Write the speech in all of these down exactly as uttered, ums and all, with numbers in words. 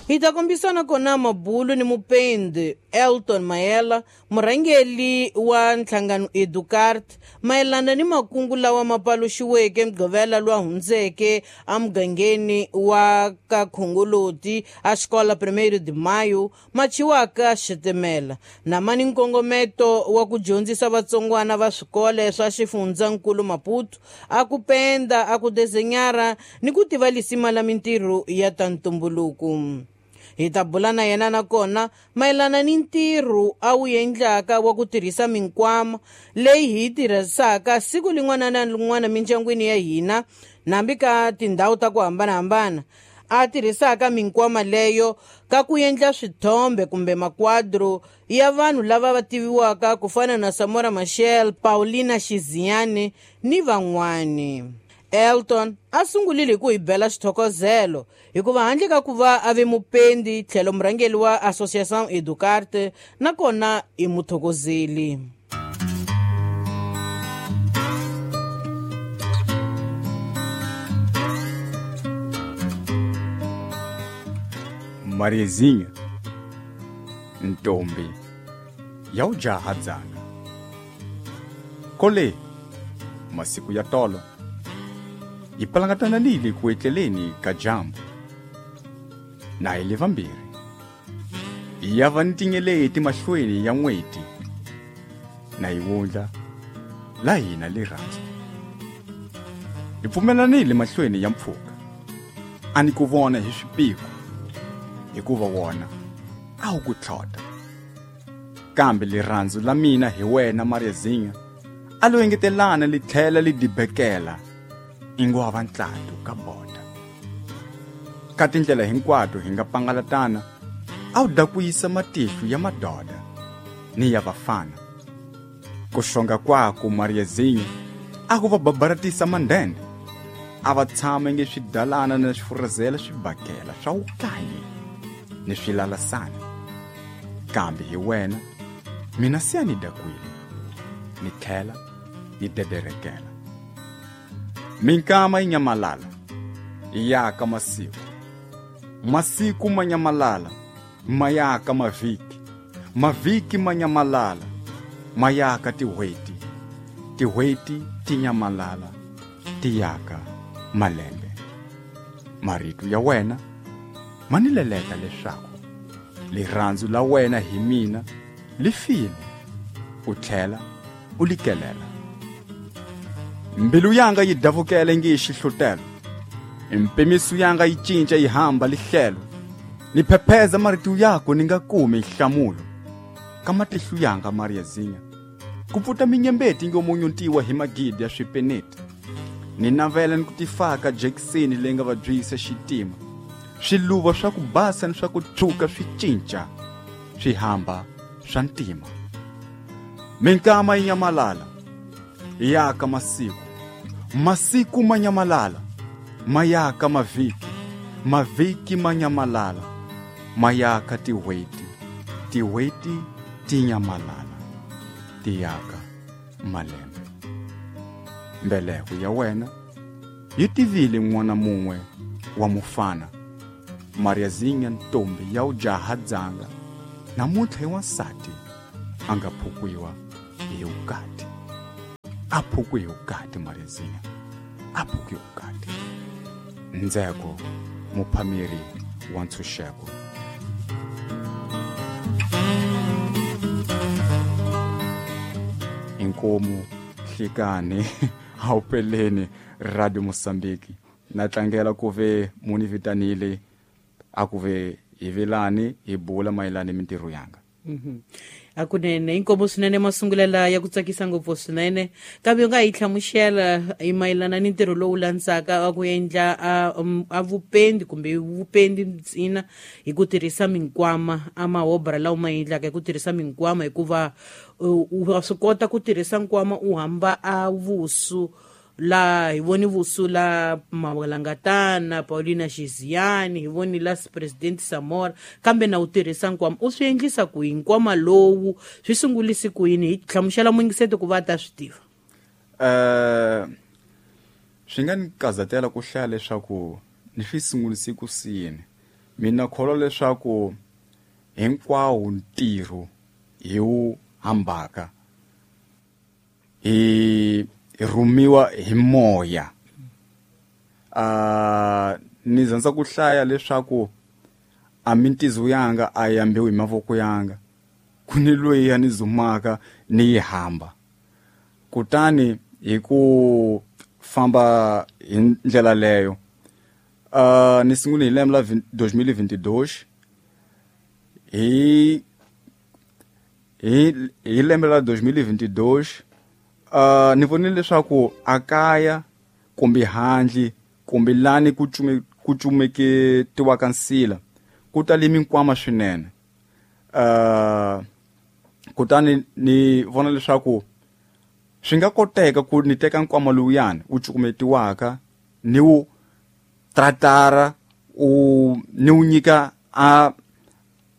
Hi ta kombisana kona mabulu ni mupendi Elton Mayela, murhangeri wa nhlangano Educart, mayelana ni makungu lawa ma paluxiweke Mugqivela lowu hundzeke emugangeni wa ka Khongoloti a Xikola Primeiro de Maio, ma chiwaka xitimela na ma ni nkongometo wa ku dyondzisa vatsongwana va swikolo swa xifundzankulu Maputo a ku penda, a ku desenyara ni ku tiva lisima la mintirho ya ta ntumbuluko. Hi ta bula na yena nakona mayelana ni ntirho a wu endlaka wa ku tirhisa minkwama leyi hi yi tirhisaka siku lin'wana na lin'wana mindyangwini ya hina nambi ka tindhawu ta ku hambanahambana, a tirhisaka minkwama leyo ka ku endla swithombe kumbe makwadro ya vanhu lava va tiviwaka ku fana na Samora Machel, Paulina Xiziane ni van'wani. Elton a sungulile hi ku hi bela xithokozelo hikuva handle ka ku va a ve mupendi tlhelo murhangeri wa Associação Educarte nakona i muthokozeli. Mariazinha, ntombi ya ujaha dzanga kole masiku ya tolo yi palangatananile ku etleleni ka dyambu na hi le vambirhi ya va ni tinyeleti mahlweni ya n'weti na yi wundla la hina rirhandzu hi pfumelanile mahlweni ya mpfhuka a ni ku vona hi swipiko hikuva wona a wu ku tlhota kambe rirhandzu la mina hi wena Mariazinha a lo engetelana li tlhela li dibekela ingo va ntlatu ka boda ka tindlela hinkwato hi nga pangalatana a wu dakuyisa matihlo ya madoda ni ya vafana ku xonga kwaku Mariazinha a ku va babaratisa mandende a va tshama nge swidalana na swifurazela swibakela swa wukanyi ni swilalasana kambe hi wena mina se a ni dakwile ni tlhela ni dederekela. Minkama yi nyamalala yi yaka masiku, masiku ma nyamalala ma yaka mavhiki, mavhiki ma nyamalala ma yaka tin'hweti, tin'hweti ti nyamalala ti yaka malembe. Marito ya wena ma ni leleta leswaku rirhandzu la wena hi mina li file u tlhela u likelela. Mbilu yanga yi davukele nge xihlutelo, mpimiso yanga yi cinca yi hamba lihlelo, ni phepheza marito yako ni nga kumi nhlamulo ka matihlo yanga Mariazinha ku pfuta minyembeti ngomunyuntiwa hi magidi ya swipeneti ni navela ni ku tifaka jekiseni leyi nga vabyisa xitima swiluva swa ku basa ni swa ku tshuka swi cinca swi hamba swa ntima. Minkama yi nyamalala yaka masiku, masiku ma nyamalala ma yaka mavhiki, mavhiki ma nyamalala ma yaka tin'hweti, tin'hweti ti nyamalala ti yaka malembe. Mbeleko ya wena yi tivile n'wana mun'we wa mufana Mariazinha ntombi ya ujaha dzanga namuntlha i wansati a nga phukwiwa hi vukati. A phukwi hi vukati Mariazinha, a phukwi hi vukati. Ndzeko muphameri wa ntshunxeko. Inkomu hlikani awupeleni Radio Mozambique na tlangela ku ve muni vitanile a ku ve hi vilani hi bula mayelana ni mintirho yanga. Mhm. Akunene inkomo swinene masungulela ya ku tsakisa ngopfu swinene kambe u nga hi hlamusela hi mayelana ni ntirho lowu landzaka wa ku endla a, a vupendi kumbe vupendi ntsena hi ku tirhisa minkwama a mahobra lawa ma endlaka hi ku tirhisa minkwama hikuva u wa swi kota ku tirhisa nkwama u hamba a vusu la hi voni vusu la Mawalangatana Paulina Xiziani hi voni la President Samora kambe na u tirhisa nkwama u swi endlisa ku yini nkwama lowu swi sungulisi ku yini hi hlamusela muyingiseti ku va ta swi tiva. Eh swi nga ni kazatela ku hlaya leswaku ni swi sungulisi ku siyini Mina kholwa leswaku hinkwawo ntirho hi wu hambaka hi rhumiwa hi moya. Uh, ni zandza ku hlaya leswaku a mintizo yanga a yambiwi hi mavoko yanga, ku ni loyi ya ni zumaka ni yi hamba. Kutani hi ku famba hi ndlela leyo, uh, ni sungule hi lembe la dois mil e vinte e dois, hi hi hi lembe la dois mil e vinte e dois, uh, ni vonile leswaku a kaya kumbe handle kumbe lani ku cume ku cumeketiwaka nsila ku tale minkwama swinene. Uh, kutani ni vona leswaku swi nga koteka ku ni teka nkwama lowuyani wu cukumetiwaka ni wu tratara u ni wu nyika a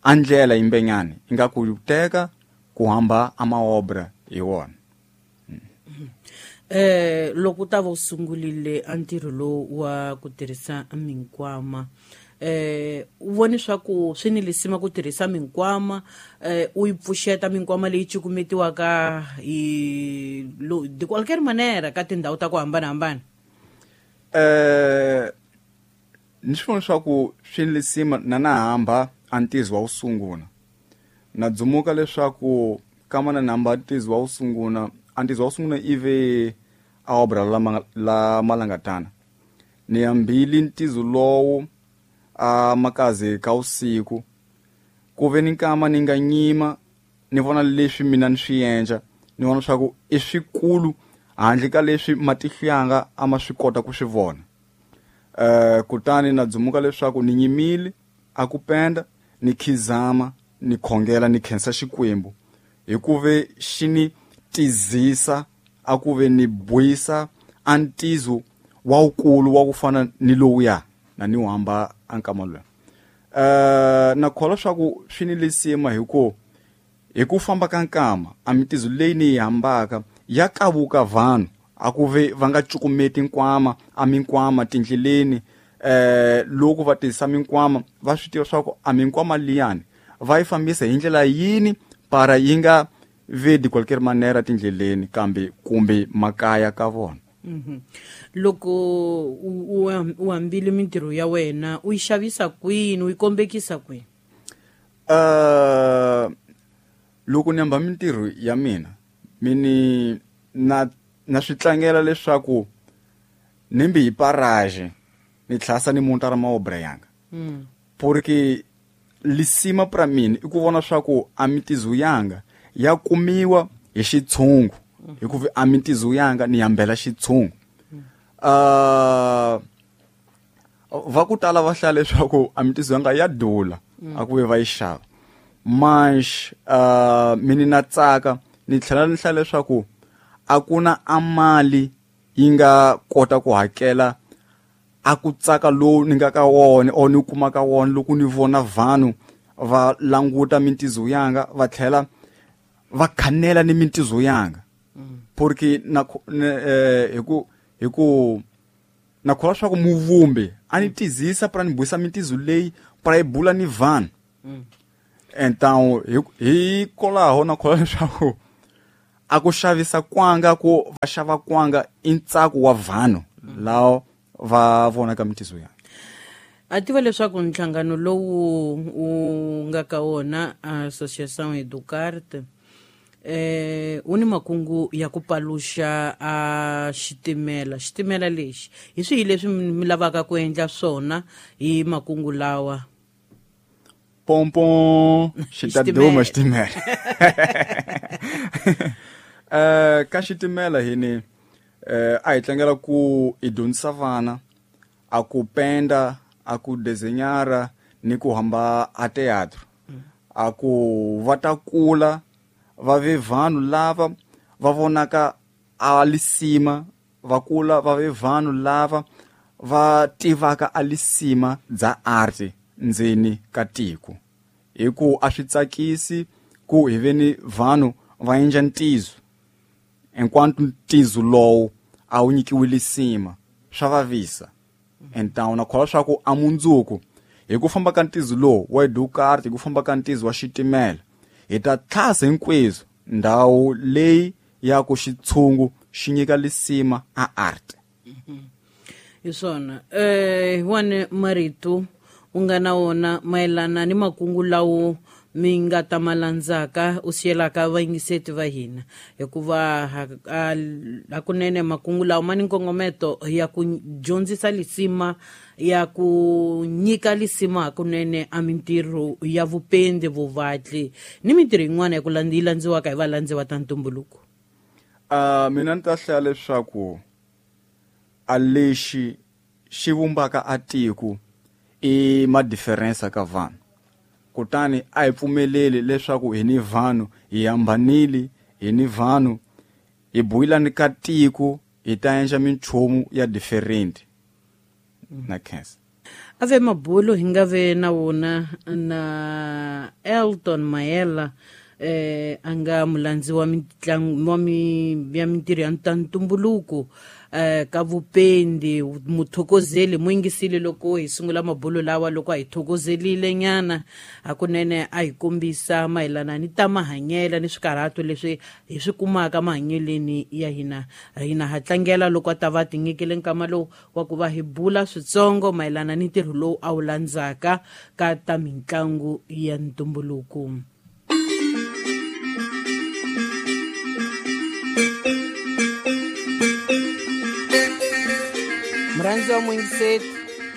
a ndlela yimbenyana ingaku wu teka ku hamba a maobra hi wona. Eh loko ta va u sungulile a ntirho lowu wa ku tirhisa minkwama, eh u vone swa ku swi ni lisima ku tirhisa minkwama, eh u yi pfuxeta minkwama leyi cukumetiwaka hi de qualquer manera ka tindhawu ta ku hambanahambana? Eh ni swi vona swa ku swi ni lisima na na hamba a ntizo wa wu sungula. Na dzumuka leswaku kama na hamba ntizo wa wu sungula, a ntizo wa wu sungula ive a obra la la malangatana. Ni hambile ntizo lowu a makazi ka usiku, ku ve ni nkama ni nga nyima ni vona leswi mina ni swi endla, ni vona leswaku i swikulu handle ka leswi matihlo yanga a ma swi kota ku swi vona. Eh kutani na dzumuka leswaku ni nyimile a ku penda, ni khizama, ni khongela, ni khensa Xikwembu hikuve xi ni tizisa a ku ve ni buisa a ntizo wa wukulu wa ku fana ni lowuya na ni hamba a nkama luya. Eh na kholwa swa ku swi ni lisima hi ku hi ku famba ka nkama a mintizo leyi ni yi hambaka ya kavuka vanhu a ku ve va nga cukumeti nkwama a minkwama tindleleni. Eh loko va tirhisa minkwama va swi tiva swa ku a minkwama liyani va yi fambisa hi ndlela yini para yi nga ve de qualquer manera tindleleni kambe kumbe makaya ka vona. Mm-hmm. Loko u hambile mintirho ya wena u yi xavisa kwini, u yi kombekisa kwini? Uh, loko ni hamba mintirho ya mina mini na na swi tlangela leswaku ni mbi hi paraje ni tlhasa ni munta ra maobra yanga. Mm. Porque lisima pra mina i ku vona swa ku a mintizo yanga ya kumiwa hi xitshungu, hikuva a mintizo yanga ni hambela xitshungu. Uh, va ku tala va hlaya leswaku a mintizo yanga ya dula a ku ve va yi xava, mas uh, mini na tsaka ni tlhela ni hlaya leswaku a ku na a mali yi nga kota ku hakela a ku tsaka lowu ni nga ka wona or ni kuma ka wona loko ni vona vanhu va languta mintizo yanga va tlhela va khanela ni mintizo yanga. Porque na eh hi ku hi ku na kholwa swa ku muvumbi a ni tizisa pra ni buisa mintizo leyi pra yi bula ni vanhu. Então hi kolaho na kholwa leswaku a ku xavisa kwanga ku va xava kwanga i ntsako wa vanhu lawo va vonaka mintizo yanga. A tiva leswaku nhlangano lowu u nga ka wona Associação Educarte eh u ni makungu ya ku paluxa a xitimela. Xitimela lexi hi swihi leswi mi lavaka ku endla swona hi makungu lawa? Pompom xi ta duma xitimela. Eh ka xitimela hi ni eh a hi tlangela ku i dyondzisa vana a ku penda, a ku desenhara ni ku hamba a teatro, a ku va ta kula va ve vanhu lava va vonaka a lisima, va kula va ve vanhu lava va tivaka a lisima bya art ndzeni ka tiko. Hi ku a swi tsakisi ku hi ve ni vanhu va endla ntizo enquanto ntizo lowu a wu nyikiwi lisima, swa vavisa. Então na kholwa swa ku a mundzuku Hi ku famba ka ntizo lowu wa Educarte, hi ku famba ka ntizo wa xitimela, hi ta tlhasa hinkwenu ndhawu leyi ya ku xitshungu xi nyika lisima a art. Hi swona eh wane marito u nga na wona mayelana ni makungu lawo mi nga ta ma landzaka u siyelaka vayingiseti va hina, hikuva hakunene makungu lawa ma ni nkongometo ya ku dyondzisa lisima, ya ku nyika lisima hakunene a mintirho ya vupendi, vuvatli ni mintirho yin'wana ya ku yi landziwaka hi valandziwa ta ntumbuluko. Uh, mina ni ta hlaya leswaku a lexi xi vumbaka a tiko i ma-difference ka vanhu. Kutani a hi pfumeleli leswaku hi ni vanhu hi hambanile, hi ni vanhu hi buyelani ka tiko, hi ta endla minchumu ya different. Na khensa. Ave mabulo hi nga ve na wona na Elton Mayela, eh a nga mulandzi wa mitlangu wa mi ya mintirho ya ntumbuluko, eh ka vupendi, muthokozeli muyingisile loko hi sungula mabulo lawa, loko a hi thokozelile nyana hakunene a hi kombisa mayelana ni ta mahanyelo ni swikarhato leswi hi swi kumaka mahanyeleni ya hina. Hina ha tlangela loko a ta va tinyikile nkama lowu wa ku va hi bula switsongo mayelana ni ntirho lowu a wu landzaka ka ta mitlangu ya ntumbuluko. Murhandzi wa muyingiseti,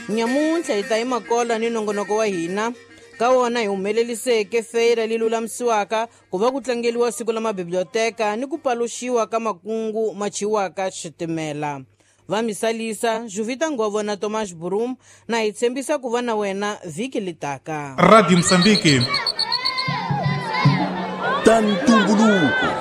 nyamuntlha hi ta yi makola ni nongonoko wa hina ka wona hi humeleliseke feira leyi lulamisiwaka ku va ku tlangeliwa siku la mabiblioteka ni ku paluxiwa ka makungu ma chiwaka xitimela. Va misalisa Juvita Ngovo na Thomas Burum na hi tshembisa ku va na wena vhiki litaka. Radio Mozambique. Ta ntumbuluko.